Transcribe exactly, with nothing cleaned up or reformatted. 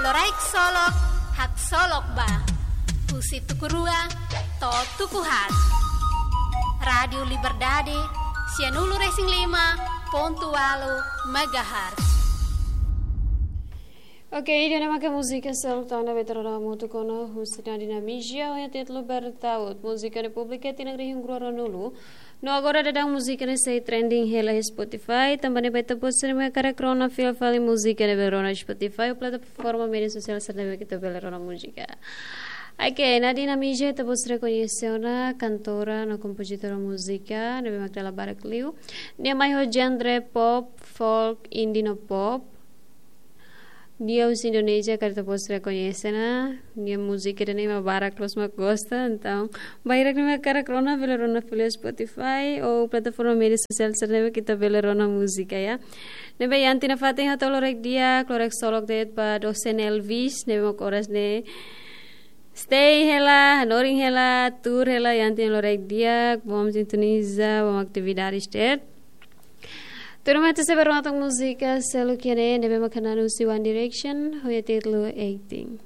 Loraik Solok, haksolok ba. Husi tuku rua to'o tuku haat. Rádiu Liberdade, sianulu-resin-lima pontu ualu megahertz. Oke, ida-ne'e maka múzika seluk tan ne'ebé ita rona hamutuk ona husi Nadine Amigia, ho nia títulu Bertaut. Múzika ne'e publika tinan rihun rua ruanulu. No agora daudaun múzika ne'e sei trending hela iha Spotify, tanba ne'e ita-boot sira ne'ebé hakarak rona fila fali múzika ne'ebé rona iha Spotify ou plataforma média sosiál sira ne'ebé ke ita bele rona múzika. Oke, Nadine Amigia ita-boot sira koñese ona, kantora no kompozitora múzika ne'ebé mak dala barak liu. Nia mai ho genre pop, folk, indie no pop. Nia husi Indonézia, karik ita-boot sira koñese ona. Nia múzika ida-ne'e mak barak loos mak gosta, entaun bainhira ne'e mak hakarak rona, bele rona fali iha Spotify ou plataforma média sosiál sira ne'ebé ke ita bele rona múzika, ya. Ne'ebé iha tinan fatin hato'o loraik di'ak, loraik solok de'it ba dosen Elvis, ne'ebé mak oras ne'e stay hela, hanorin hela, tuur hela, iha tinan loraik di'ak, bom sintoniza, bom atividades de'it. Tuirmai ita sei bá rona tan múzika seluk iha ne'e, ne'ebé mak hanesan husi One Direction, ho nia títulu eighteen.